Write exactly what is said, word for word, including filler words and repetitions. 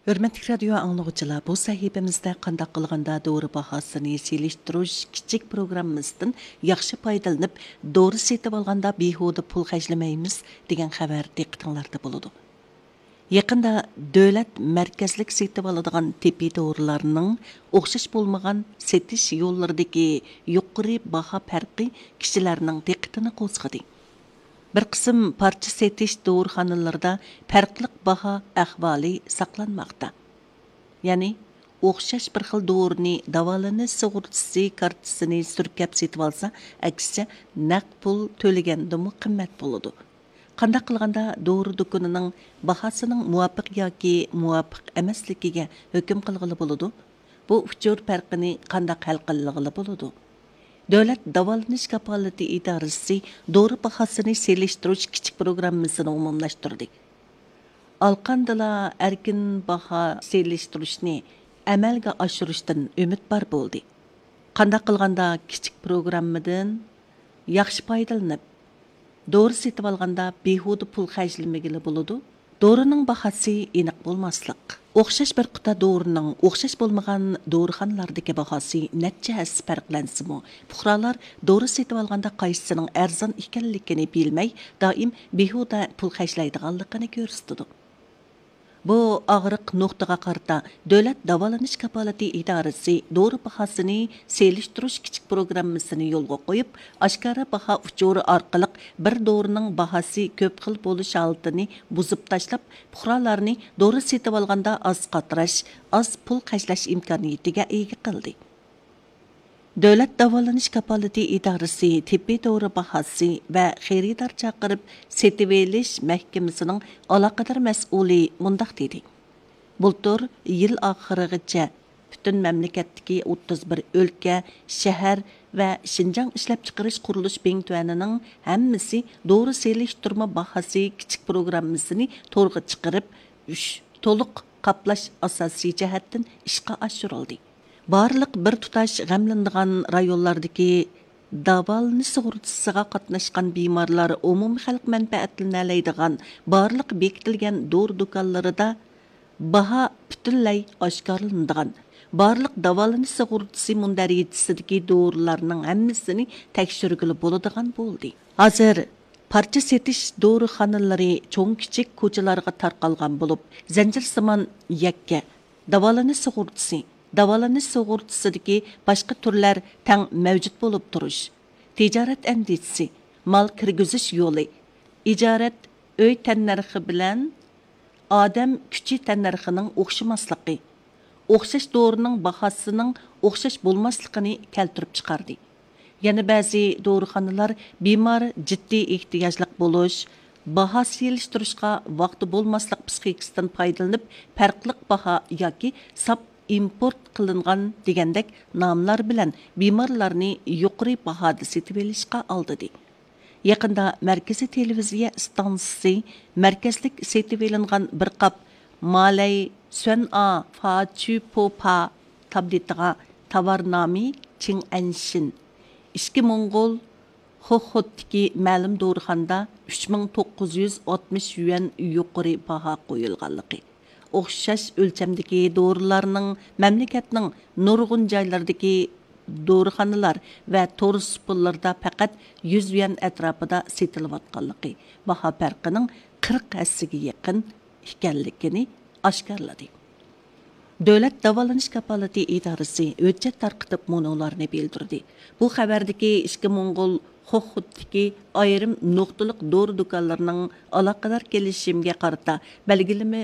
ھۆرمەتلىك رادىيو ئاڭلىغۇچىلار، بۇ سەھىپىمىزدە قانداق قىلغاندا دورا باھاسىنى سېلىشتۇرۇش كىچىك پروگراممىسىدىن ياخشى پايدىلىنىپ، دورا سېتىۋالغاندا بىھۇدە پۇل خەجلىمەيمىز دېگەن خەۋەر دىققىتىڭلاردا بولىدۇ. يېقىندا دۆلەت مەركەزلىك سېتىۋالىدىغان تېببىي دورىلارنىڭ ئوخشاش بولمىغان سېتىش يوللىرىدىكى يۇقىرى باھا پەرقى كىشىلەرنىڭ دىققىتىنى قوزغىدى. بىر قىسىم پارچە سېتىش دورىخانىلىرىدا پەرقلىق باھا ئەھۋالى ساقلانماقتا. يەنى، ئوخشاش بىر خىل دورىنى داۋالىنىش سۇغۇرتىسى كارتىسىنى سۈركەپ سېتىۋالسا، ئەكسىچە نەق پۇل تۆلىگەندىمۇ قىممەت بولىدۇ. قانداق قىلغاندا دورا دۇكىنىنىڭ باھاسىنىڭ مۇۋاپىق ياكى مۇۋاپىق ئەمەسلىكىگە ھۆكۈم قىلغىلى بولىدۇ؟ بۇ ئۇچۇر پەرقىنى قانداق ھەل قىلغىلى بولىدۇ؟ دۆلەت داۋالىنىش كاپالىتى ئىدارىسى دورا باھاسىنى سېلىشتۇرۇش كىچىك پروگراممىسىنى ئومۇملاشتۇردى. ئالقاندىلا ئەركىن باھا سېلىشتۇرۇشنى ئەمەلگە ئاشۇرۇشتىن ئۈمىدۋار بولدى. قانداق قىلغاندا كىچىك پروگراممىدىن ياخشى پايدىلىنىپ، دورا سېتىۋالغاندا بىھۇدە پۇل خەجلىمىگىلى بولىدۇ؟ دورىنىڭ باھاسى ئېنىق بولماسلىق. ئوخشاش بىر قۇتا دورىنىڭ ئوخشاش بولمىغان دورىخانىلاردىكى باھاسى نەچچە ھەسسە پەرقلەنسىمۇ، پۇقرالار دورا سېتىۋالغاندا قايسىسىنىڭ ئەرزان ئىكەنلىكىنى بىلمەي، دائىم بىھۇدە پۇل خەجلەيدىغانلىقىنى كۆرسىتىدۇ. بۇ ئاغرىق نۇقتىغا قارىتا، دۆلەت داۋالىنىش كاپالىتى ئىدارىسى دورا باھاسىنى سېلىشتۇرۇش كىچىك پروگراممىسىنى يولغا قويۇپ، ئاشكارا باھا ئۇچۇرى ئارقىلىق بىر دورىنىڭ باھاسى كۆپ خىل بولۇش ھالىتىنى بۇزۇپ تاشلاپ، پۇقرالارنى دورا سېتىۋالغاندا ئاز قاتراش، ئاز پۇل خەجلەش ئىمكانىيىتىگە ئىگە قىلدى. دۆلەت داۋالىنىش كاپالىتى ئىدارىسى تېببىي دورا باھاسى ۋە خېرىدار چاقىرىپ سېتىۋېلىش مەھكىمىسىنىڭ ئالاقىدار مەسئۇلى مۇنداق دېدى: بۇلتۇر يىل ئاخىرىغىچە پۈتۈن مەملىكەتتىكى ئوتتۇز بىر ئۆلكە، شەھەر ۋە شىنجاڭ ئىشلەپچىقىرىش قۇرۇلۇش بىڭتۈەنىنىڭ ھەممىسى دورا سېلىشتۇرما باھاسى كىچىك پروگراممىسىنى تورغا چىقىرىپ، ئۈچ تولۇق قاپلاش ئاساسىي جەھەتتىن ئىشقا ئاشۇرۇلدى. بارلىق بىر تۇتاش غەملىنىدىغان رايونلاردىكى داۋالىنىش سۇغۇرتىسىغا قاتناشقان بىمارلار ئومۇمىي خەلق مەنپەئەتلىنەلەيدىغان بارلىق بېكىتىلگەن دورا دۇكانلىرىدا باھا پۈتۈنلەي ئاشكارىلىنىدىغان، بارلىق داۋالىنىش سۇغۇرتىسى مۇندەرىجىسىدىكى دورىلارنىڭ ھەممىسىنى تەكشۈرگىلى بولىدىغان بولدى. ھازىر پارچە سېتىش دورىخانىلىرى چوڭ-كىچىك كوچىلارغا تارقالغان بولۇپ، زەنجىرسىمان يەككە داۋالىنىش سۇغۇرتىسى، داۋالىنىش سۇغۇرتىسىدىكى باشقا تۈرلەر تەڭ مەۋجۇت بولۇپ تۇرۇش، تىجارەت ئەندىزىسى، مال كىرگۈزۈش يولى، ئىجارەت ئۆي تەننەرخى بىلەن ئادەم كۈچى تەننەرخىنىڭ ئوخشىماسلىقى، ئوخشاش دورىنىڭ باھاسىنىڭ ئوخشاش بولماسلىقىنى كەلتۈرۈپ چىقاردى. يەنە بەزى دورىخانىلار بىمار جىددىي ئېھتىياجلىق بولۇش، باھا سېلىشتۇرۇشقا ۋاقتى بولماسلىق پىسخىكىسىدىن پايدىلىنىپ، پەرقلىق باھا ياكى ساپ ئىمپورت قىلىنغان دېگەندەك ناملار بىلەن بىمارلارنى يۇقىرى باھادا سېتىۋېلىشقا ئالدىدى. يېقىندا مەركىزىي تېلېۋىزىيە ئىستانسىسى مەركەزلىك سېتىۋېلىنغان بىر قاپ مالەي سۈەنئا فاچۈپوپا تابلېتىغا تاۋار نامى چىڭئەنشىن، ئىچكى موڭغۇل خوخوتتىكى مەلۇم دورىخانىدا ئۈچ مىڭ توققۇز يۈز ئاتمىش يۈەن يۇقىرى باھا قويۇلغانلىقى، ئوخشاش ئۆلچەمدىكى دورىلارنىڭ مەملىكەتنىڭ نۇرغۇن جايلىرىدىكى دورىخانىلار ۋە تور سۇپىلىرىدا پەقەت يۈز يۈەن ئەتراپىدا سېتىلىۋاتقانلىقى، باھا پەرقىنىڭ قىرىق ھەسسىگە يېقىن ئىكەنلىكىنى ئاشكارىلىدى. دۆلەت داۋالىنىش كاپالىتى ئىدارىسى ھۆججەت تارقىتىپ مۇنۇلارنى بىلدۈردى. بۇ خەۋەردىكى ئىچكى موڭغۇل خوخۇتتىكى ئايرىم نۇقتىلىق دورا دۇكانلىرىنىڭ ئالاقىدار كېلىشىمگە قارىتا بەلگىلىمە